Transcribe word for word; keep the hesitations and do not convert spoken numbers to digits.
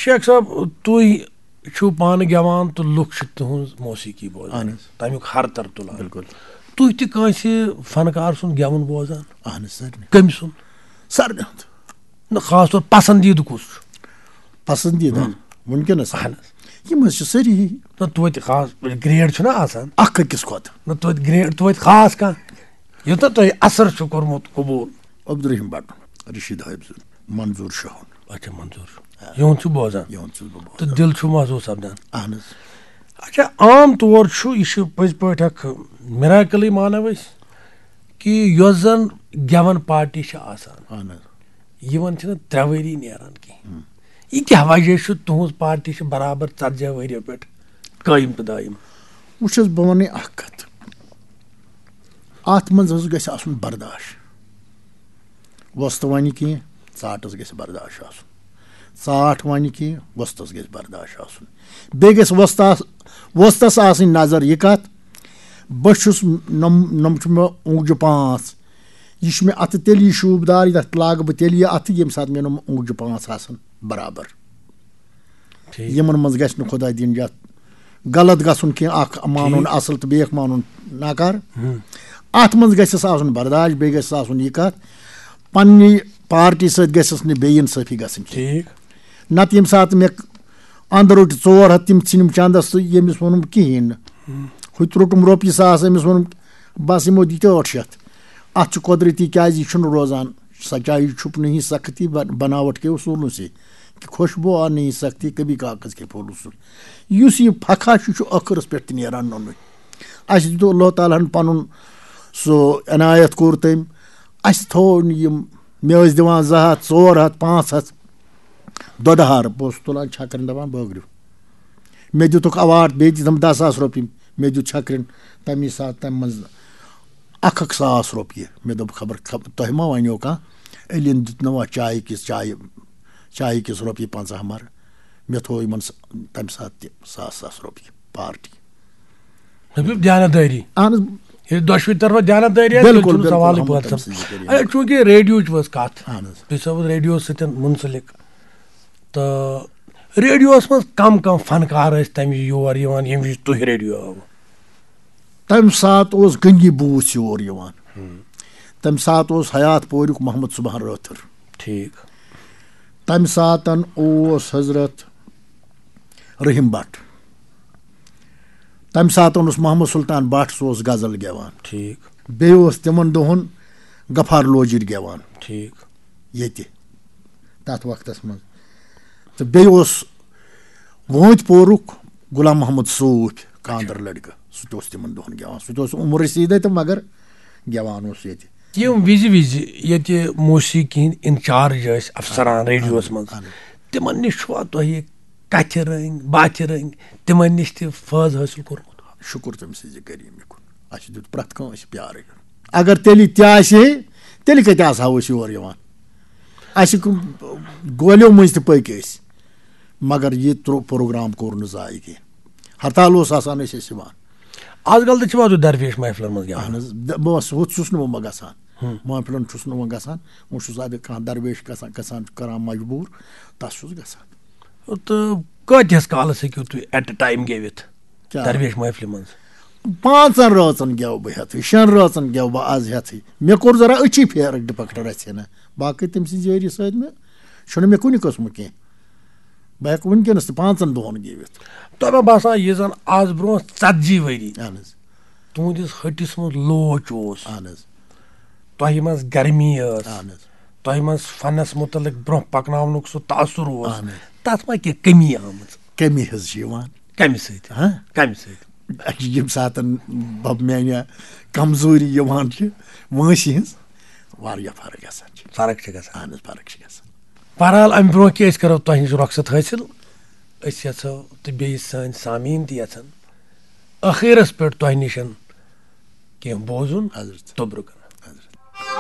شیخ صٲب، تُہۍ چھِو پانہٕ گٮ۪وان تہٕ لُکھ چھِ تُہٕنٛز موسیقی بوزان، اہن حظ۔ تَمیُک ہرتر تُلان۔ بِلکُل۔ تُہۍ تہِ کٲنٛسہِ فنکار سُنٛد گٮ۪وُن بوزان؟ اہن حظ، سارنٕے۔ کٔمۍ سُنٛد؟ سارنٕے ہُنٛد۔ نہ، خاص طور پسندیدٕ کُس چھُ؟ پسندیدٕ؟ ہم۔ وٕنکیٚنس؟ اہن حظ۔ یِم حظ چھِ سٲری۔ نہ، توتہِ خاص گرٛیڈ چھُنہ آسان؟ اکھ أکِس کھۄتہٕ۔ نہ، توتہِ گرٛیڈ، توتہِ خاص کانٛہہ، یوٗتاہ تۄہہِ اثر چھُ کوٚرمُت قبوٗل۔ عبدالرحیم بٹُن، رشید حٲفظُن، منظور شاہُن۔ اچھا، منظور چھُ۔ یِہُنٛد چھُ بوزان۔ یِہُنٛد چھُس بہٕ بوزان۔ تہٕ دِل چھُ محسوٗس سپدان۔ اہن حظ۔ اچھا، عام طور چھُ، یہِ چھُ پٔزۍ پٲٹھۍ اکھ miracle ٕے مانو أسۍ، کہِ یۄس زن گٮ۪وَن پارٹی چھِ آسان، اہن حظ۔ یِمن چھِنہٕ ترٛےٚ ؤری نیران کِہیٖنۍ۔ ہم۔ یہِ کیٛاہ وجہ چھُ؟ تُہٕنٛز پارٹی چھِ برابر ژتجی ؤریو پٮ۪ٹھ قٲیِم تہٕ دٲیِم۔ وٕچھ حظ، بہٕ وَنَے اَکھ کَتھ۔ اَتھ منٛز حظ گژھِ آسُن برداش۔ وۄستہٕ وَنہِ کینٛہہ، ژاٹَس گژھِ برداش آسُن۔ ژاٹھ وَنہِ کینٛہہ، وۄستَس گژھِ برداش آسُن۔ بیٚیہِ گژھِ وۄستَس، وۄستَس آسٕنۍ نظر یہِ کَتھ، بہٕ چھُس، نۄم-، نۄم چھُ مےٚ اوٚنٛگجہِ پانٛژھ۔ یہِ چھُ مےٚ اَتھٕ تیٚلی شوٗبدار، یَتھ لاگہٕ بہٕ تیٚلی اَتھٕ، ییٚمہِ ساتہٕ مےٚ نۄم اوٚنٛگجہِ پانٛژھ آسَن برابر۔ ٹھیٖک۔ یِمن منٛز گژھِ نہٕ خۄداے دِیِن یَتھ غلط گژھُن کینٛہہ، اکھ مانُن ٹھیٖک۔ اصل تہٕ بیٚیہِ اکھ مانُن ناکار۔ ہُم۔ اتھ منٛز گژھٮ۪س آسُن برداش، بیٚیہِ گژھٮ۪س آسُن یہِ کتھ، پننہِ پارٹی سۭتۍ گژھٮ۪س نہٕ بے انصٲفی گژھٕنۍ کینٛہہ۔ ٹھیٖک۔ نتہٕ ییٚمہِ ساتہٕ مےٚ اندٕ روٚٹ ژور ہتھ، تِم ژھٕنِم چندس تہٕ ییٚمِس ووٚنُم کِہیٖنۍ نہٕ۔ ہُم۔ ہُہ تہِ روٚٹُم رۄپیہِ ساس، أمِس ووٚنُم، بس یِمو دِتۍ ٲٹھ شیٚتھ۔ اتھ چھُ قۄدرتی، کیازِ یہِ چھُنہٕ روزان۔ سچائی چھپ نہیں سکتی، بن-، بناوٹ کے اصولوں سے، کہ خوشبو آ نہیں سکتی، کبھی کاغذ کے پھولوں سے۔ یُس یہِ پھکھا چھُ، یہِ چھُ ٲخرس پٮ۪ٹھ تہِ نیران نوٚنُے۔ اَسہِ دیُت اللہ تعالیٰ ہن پنُن سُہ عنایت کوٚر تٔمۍ۔ اَسہِ تھوو نہٕ یِم، مےٚ ٲسۍ دِوان زٕ ہتھ، ژور ہتھ، پانٛژھ ہتھ دۄدٕ ہار، بہٕ اوسُس تُلان چھکرن دپان بٲگرِو۔ مےٚ دِتُکھ award، بیٚیہِ دِتم دَہ ساس رۄپیہِ، مےٚ دیُت چھکرن تَمی ساتہٕ تَمہِ منٛز اکھ اکھ ساس رۄپیہِ۔ مےٚ دوٚپ، خبر، خبر تۄہہِ ما وَنیو کانٛہہ، علیَن دیُت نہٕ وۄنۍ چایہِ کِس، چایہِ، چایہِ کِس رۄپیہِ پنٛژاہ مَرٕ۔ مےٚ تھوٚو یِمَن س-، تَمہِ ساتہٕ تہِ ساس ساس رۄپیہِ پارٹی۔ مےٚ پیوٚو دیانتدٲری۔ اہن حظ۔ ییٚلہِ دۄشوٕنۍ طرفہٕ دیانتدٲری آسہِ، تیٚلہِ بِلکُل، چھُنہٕ بِلکُل، سوالٕے احمد پٲدٕ تَمہِ سَپدان۔ سۭتۍ ذٔریعہٕ۔ اے، چوٗنٛکہِ ریڈیوٕچ وٲژ کَتھ، اہن حظ۔ بیٚیہِ سا اوس ریڈیوَس سۭتۍ مُنسلِک۔ تہٕ ریڈیوَس منٛز کم کم فنکار ٲسۍ تَمہِ وِزِ یور یِوان، ییٚمہِ وِزِ تُہۍ ریڈیو آوٕ؟ تَمہِ ساتہٕ اوس گنگی بوٗس یور یِوان۔ ہم۔ تَمہِ ساتہٕ اوس حیات پوریُک محمد صبحان رٲتھٕر۔ ٹھیٖک۔ تَمہِ ساتہٕ اوس حضرت رحیم بٹ۔ تَمہِ ساتہٕ اوس محمد سلطان بٹ، سُہ اوس غزل گٮ۪وان۔ ٹھیٖک۔ بیٚیہِ اوس تِمن دۄہن غفار لوجِر گٮ۪وان۔ ٹھیٖک۔ ییٚتہِ، تَتھ وقتس منٛز۔ تہٕ بیٚیہِ اوس وٲنٛتۍ پورُک غلام محمد صوٗفۍ، کانٛدر لڑکہٕ، سُہ تہِ اوس تِمن دۄہن گٮ۪وان۔ سُہ تہِ اوس عمر رسیٖدے تہٕ مگر گٮ۪وان اوس ییٚتہِ۔ یِم وِزِ وِزِ ییٚتہِ موسیقی ہٕنٛدۍ انچارج ٲسۍ افسران ریڈیوس منٛز، اہن۔ تِمن نِش چھُوا تۄہہِ کتھِ رٔنٛگۍ، باتھِ رٔنٛگۍ، تِمن نِش تہِ فٲض حٲصِل کوٚرمُت؟ شُکُر تٔمۍ سٕنٛزِ کریٖمہِ کُن۔ اَسہِ دیُت پرٛٮ۪تھ کانٛہہ اَسہِ پیارٕے۔ اگر تیٚلہِ تہِ آسہِ ہے، تیٚلہِ کَتہِ آسہٕ ہاو أسۍ یور یِوان؟ اَسہِ کُ-، گولیو مٔنٛزۍ تہِ پٔکۍ أسۍ، مگر یہِ ترٛو-، پروگرام کوٚر نہٕ ضایع کینٛہہ۔ ہرتال اوس آسان، أسۍ ٲسۍ یِوان۔ آز کل تہِ چھِوا تُہۍ درویش محفلن منٛز گٮ۪وان؟ اہن حظ، د-، بہٕ اوسُس، ہُتھ چھُس نہٕ بہٕ گژھان۔ ہُم۔ محفلن چھُس نہٕ وۄنۍ گژھان، وۄنۍ چھُس اَدٕ کانٛہہ درویش گژھان، گژھان کران مجبوٗر، تَس چھُس گژھان۔ تہٕ کۭتِس کالس ہیٚکِو تُہۍ at a time گٮ۪وِتھ؟ کیٛاہ؟ درویش محفلہِ منٛز؟ پانٛژن رٲژن گٮ۪و بہٕ ہٮ۪تھٕے، شٮ۪ن رٲژن گٮ۪و بہٕ از ہٮ۪تھٕے۔ مےٚ کوٚر ذرا أچھی پھیرٕ ڈپکٹ رژھِ ہنا۔ باقٕے تٔمۍ سٕنٛدِ ذٔریعہٕ سۭتۍ مےٚ چھُنہٕ مےٚ کُنہِ قٕسمہٕ کینٛہہ۔ بہٕ ہٮ۪کہٕ وٕنکیٚنس تہِ پانٛژن دۄہن گٮ۪وِتھ۔ تۄہہِ ما باسان، یہِ زن از برونٛہہ ژتجی ؤری اہن حظ۔ تُہنٛدِس ۂٹِس منٛز لوچ اوس، اہن حظ۔ تۄہہِ منٛز گرمی ٲس، اہن حظ۔ تۄہہِ منٛز فنس متعلق برونٛہہ پکناونُک سُہ تاثر اوس، اہن حظ۔ تتھ ما کینٛہہ کمی آمٕژ؟ کمی حظ چھِ یِوان۔ کمہِ سۭتۍ؟ ہاں؟ کمہِ سۭتۍ؟ ییٚمہِ ساتہٕ بب میانہِ کمزوری یِوان چھِ، وٲنٛسہِ ہٕنٛز واریاہ فرق گژھان چھِ۔ فرق چھِ گژھان۔ اہن حظ، فرق چھِ گژھان۔ بہرحال، امہِ برونٛہہ کہِ أسۍ کرو تۄہہِ نِش رۄخصت حٲصِل، أسۍ یژھو تہٕ بیٚیہِ سٲنۍ سامعیٖن تہِ یژھن ٲخرس پٮ۪ٹھ تۄہہِ نِش کینٛہہ بوزُن حضرت۔ تہٕ برٛونٛہہ کُن۔